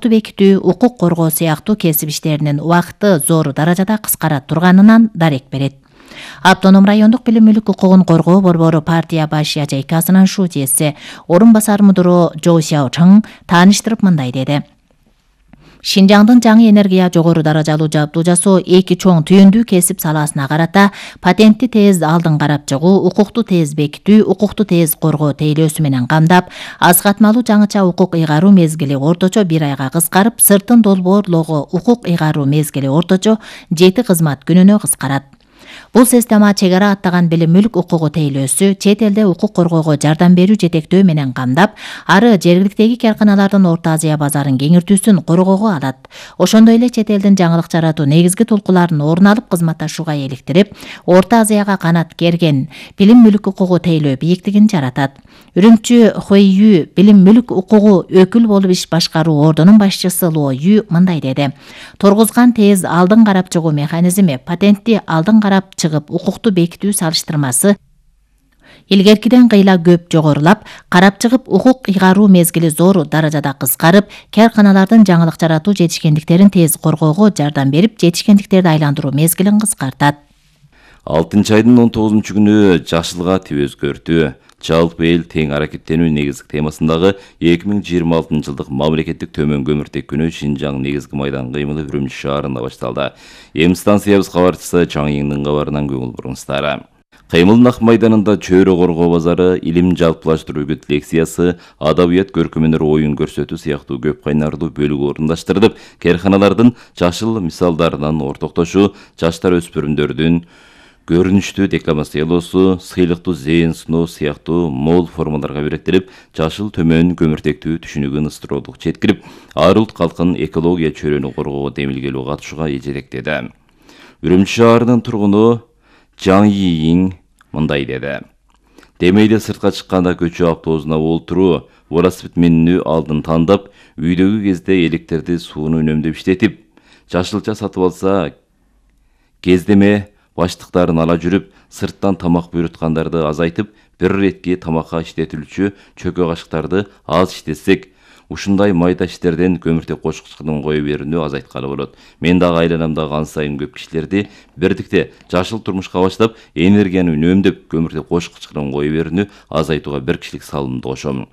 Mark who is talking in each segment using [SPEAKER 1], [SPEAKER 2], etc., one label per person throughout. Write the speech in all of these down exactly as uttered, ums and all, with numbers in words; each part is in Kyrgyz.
[SPEAKER 1] бекитүү, укук коргоо сыяктуу кесип иштеринин убакыты зор даражада кыскара турганынан дарек берет. Автоном райондук билим мүлк укугун коргоо борбору партия баш ячейкасынын шуудиеси орун басар мудуру Жо Сяо Чың тааныштырып мындай деди. Шинжаңдын жаңы энергия жогору даражалуу жабдуу жасоо эки чоң түйүндүү кесип салаасына карата патентти тез алдын карап чыгуу, укукту тез бекитүү, укукту тез коргоо тейлөөсү менен камдап, аз катмалуу жаңыча укук ыйгаруу мезгили орточо бир айга кыскарып, сыртын долбоорлоого укук ыйгаруу мезгили орточо жети кызмат күнүнө кыскарат. Бул система чек ара аттаган билим мүлк укугу тейлөөсү, чет элде укук коргоого жардам берүү жетектөө менен камдап, ары жергиликтеги карканалардын Орто Азия базарын кеңиртүүсүн коргоого алат. Ошондой эле чет элдин жаңылык жаратуу негизги толкуларын орун алып кызматташууга эликтирип, Орто Азияга канат керген билим мүлк укугу тейлөө бийиктигин жаратат. Үрүмчү Хуэйю билим мүлк укугу өкүл болуп иш башкаруу ордунун башчысы Ло Ю мындай деди. Торгузган тез алдын карап чыгуу механизми, патентти алдын карап чыгып укукту бекитүү салыштырмасы илгеркиден кыйла көп жогорулап, карап чыгып укук ыйгаруу мезгили зор даражада кыскарып, карканалардын жаңылык жаратуу жетишкендиктерин тез коргоого жардам берип, жетишкендиктерди айландыруу мезгилин кыскартат.
[SPEAKER 2] алтынчы айдын он тогузунчу күнү жашылга тип өзгөртүү, жалпы эл тең аракеттенүү негизги темасындагы эки миң жыйырма алтынчы жылдык мамлекеттик төмөн көмүртек күнү Шинжаң негизги майдан кыймылы Үрүмчү шаарында башталды. Эми станциябыз кабарчысы Чаң Ийиңдин кабарынан көңүл буруңуздар. Кыймылдын ак майданында чөйрө коргоо базары, илим жалпылаштыруу үгүт лекциясы, адабият көркөмөнөр оюн көрсөтүү сыяктуу көп кайнарлуу бөлүгү орундаштырылып, карканалардын жашыл мисалдарынан ортоктошуу, жаштар өспүрүмдөрдүн көрүнүштүү декламациялоосу, сыйлыктуу зээн суноо сыяктуу мол формаларга беректелип, жашыл төмөн көмүртектүү түшүнүгүн ыстыроолук жеткирип, ар улт калктын экология чөйрөнү коргоого демилгелүү катышууга эжеректеди. Үрүмчү шаарынын тургуну Чаң Ийиң мындай деди. Демейде сыртка чыкканда көчө автобусуна олтуруу, велосипед минүү алдын тандап, үйдөгү кезде электерди сууну үнөмдөп иштетип, жашылча сатып алса, кездеме баштыктарын ала жүрүп, сырттан тамак буйруткандарды азайтып, бир иретки тамакка иштетилүүчү чөкө кашыктарды аз иштетсек, ушундай майда иштерден көмүртек кошкучунун кое берүүнү азайткалы болот. Мен дагы айланамдагы ан сайын көп кишилерди бирдикте жашыл турмушка баштап, энергияны үнөмдөп, көмүртек кошкучунун кое берүүнү азайтууга бир кишилик салымды кошом.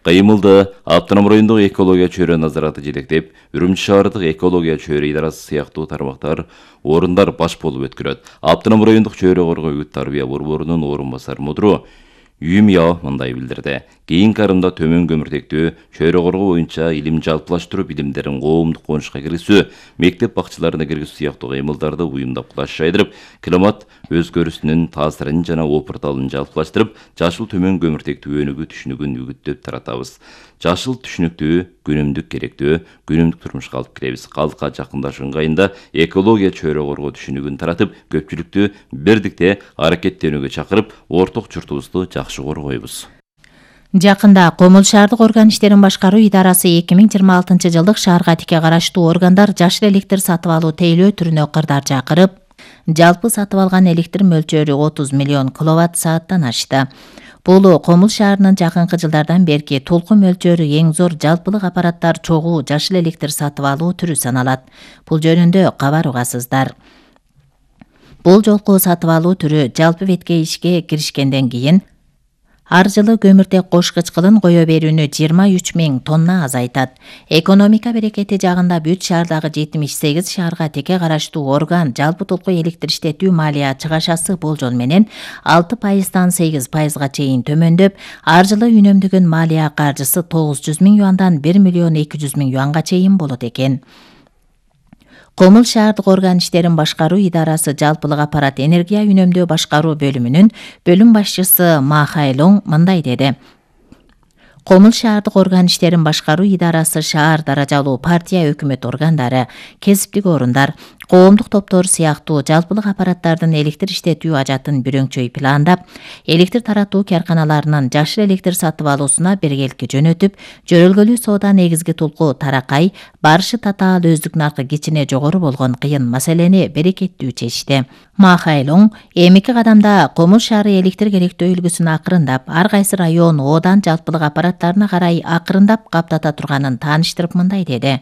[SPEAKER 2] Кыймылды автоном райондук экология чөйрө назараты жетектеп, Үрүмчү шаардык экология чөйрө идарасы сыяктуу тармактар орундар баш болуп өткөрөт. Автоном райондук чөйрө коргоо үгүт тарбия борборунун орун басар мудуру Юмяо мындай билдирди. Кийинки арымда төмөн көмүртектүү чөйрө коргоо боюнча илим жалпылаштыруу билимдерин коомдук конушка киргизүү, мектеп бакчаларына киргизүү сыяктуу кыймылдарды уюмдап кулаш жайдырып, климат өзгөрүүсүнүн таасирин жана опурталын жалпылаштырып, жашыл төмөн көмүртектүү өнүгүү түшүнүгүн үгүттөп таратабыз. Жашыл түшүнүктүү күнүмдүк керектүү, күнүмдүк турмушка алып киребиз. Калкка жакындашуу ыңгайында экология чөйрө коргоо түшүнүгүн таратып, көпчүлүктү бирдикте аракеттенүүгө чакырып, орток журтубузду жакшы коргойбуз.
[SPEAKER 1] Жакында Комул шаардык орган иштерин башкаруу идарасы эки миң жыйырма алтынчы жылдык шаарга тике караштуу органдар жашыл электр сатып алуу тейлөө түрүнө кырдаар жакырып, жалпы сатып алган электр мөлчөрү отуз миллион киловатт сааттан ашты. Бул Комул шаарынын жакынкы жылдардан берки толку мөлчөрү эң зор жалпылык аппараттар чогуу жашыл электр сатып алуу түрү саналат. Бул жөнүндө кабар угасыздар. Бул жолку сатып алуу түрү жалпы бетке ишке киришкенден кийин ар жылы көмүртек кошкуч кылын кое берүүнү жыйырма үч миң тонна азайтат. Экономика берекети жагында бүт шаардагы жетимиш сегиз шаарга теке караштуу орган жалпы толку электр иштетүү малия чыгашасы болжол менен алты пайыздан сегиз пайызга чейин төмөндөп, ар жылы үнөмдөгөн малия каржысы тогуз жүз миң юандан бир миллион эки жүз миң юанга чейин болот экен. Комул шаардык орган иштерин башкаруу идарасы жалпылык аппарат энергия үнөмдөө башкаруу бөлүмүнүн бөлүм башчысы Ма Хайлоң мындай деди. Комул шаардык орган иштерин башкаруу идарасы шаар даражалуу партия өкмөт органдары, кесиптик орундар, коомдук топтор сыяктуу жалпылык аппараттардын электр иштетүү ажатын бүрөңчөй пландап, электр таратуу карканаларынын жашыл электр сатып алуусуна бергелки жөнөтүп, жөрөлгөлүү соода негизги тулку таракай, барышы татаал өздүк наркы кичине жогору болгон кыйын маселени берекеттүү чечти. Ма Хайлоң эмики кадамда Комуз шаары электр керектөө үлгүсүн акырындап, ар кайсы район оодан жалпылык аппараттарына карай акырындап каптата турганын тааныштырып мындай деди.